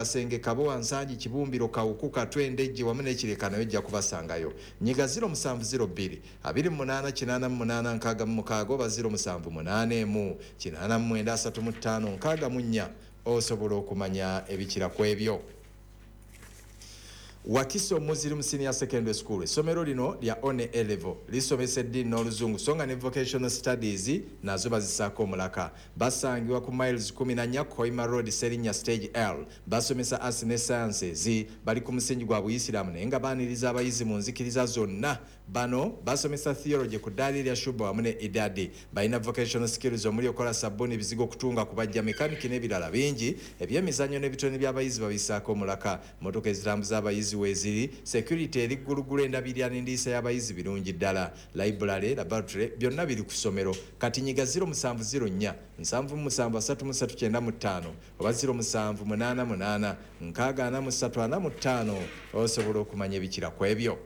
Kasenge, Kabowa, Nsangi, Kibumbiro, Kawuku, Katwe, Ndejje wamu n'e Kireka nayo ojja kubasangayo. Nyiga 0702 28 88 66 oba 0781 89 35 64 osobola okumanya ebikira ku ebyo. Wakiso Muslim Senior Secondary School, essomero lino lya one A level, lisomesa eddiini n'Oluzungu, so nga ne vocational studies nazo bazisaako omulaka. Basangibwa ku Miles 14 Hoima Road, Serinnya Stage L. Basomesa arts ne sciences. Bali ku musingi gwa Buyisiraamu, naye nga baaniriza abayizi mu nzikiriza zonna. Bano basomesa theology ku ddaala erya Shuba wamu ne Idadi. Balina vocational skills omuli okola sabbuuni, bizigo, okutunga, kubajja, mekaniki n'ebirala bingi. Ebyemizannyo n'ebitone by'abayizi babisaako omulaka. Motoka ezitambuza abayizi weeziri, security eri ggulugulu, endabirira n'endiisa y'abayizi birungi ddala. Library, laboratory, byonna biri ku ssomero. Kati nyiga 0704 77 3395 oba 0788 64 45 osobola okumanya ebikira ku ebyo.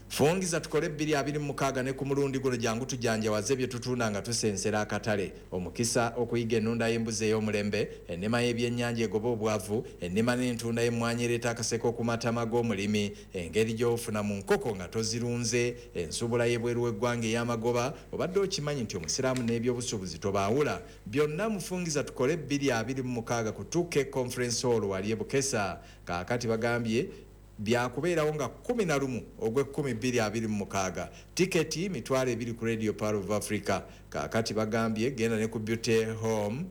Fungiza tukole 2026 ne ku mulundi guno jangu tujanjawaze bye tutunda nga tusensera akatale. Omukisa okuyiga ennunda y'embuzi ey'omulembe, ennima y'ebyennyanja egoba obwavu, ennima n'entunda y'emmwanyi ereeta akaseko ku matama g'omulimi, engeri gy'ofuna mu nkoko nga tozirunze, ensuubula y'ebweru w'eggwanga ey'amagoba. Obadde okimanyi nti Omusiraamu n'ebyobusuubuzi tobaawula? Byonna mufungiza tukole 2026 ku 2K Conference Hall wali e Bukesa. Kaakati bagambye byakubeerawo nga 11 ogw'ekumi 2026. Tiketi 20,000 ku Radio Pearl of Africa. Kaakati bagambye genda ne ku Beauty Home,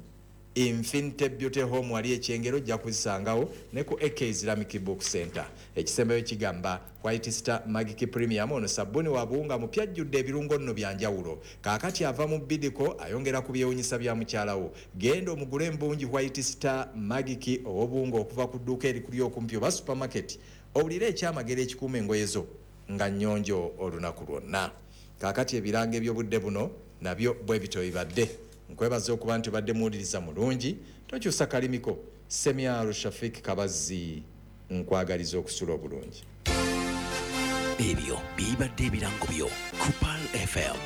Infinite Beauty Home wali ekyengero, ojja kuzisangawo ne ku AK Islamic Book Center. Ekisembayo kigamba White Star Magic Premium. Ono sabbuuni wa buwunga mupya, ajjudde ebirungo nno byanjawulo. Kaakati ava mu bidiko, ayongera ku byewunyisa bya mukyalawo. Genda omugule embungi White Star Magic ow'obuwunga okuva ku dduuka erikuli okumpi oba supermarket, owulire ekyamagero ekikuuma engoye zo nga nnyonjo olunaku lwonna. Kaakati ebirango eby'obudde buno nabyo bwe bityo bibadde. Nkwebaza okuba nti obadde muwuliriza mulungi, tokyusa kalimiko. Semyalo Shafik Kabazzi, nkwagaliza okusula obulungi. Ebyo bibadde ebirango byo ku Pearl FM.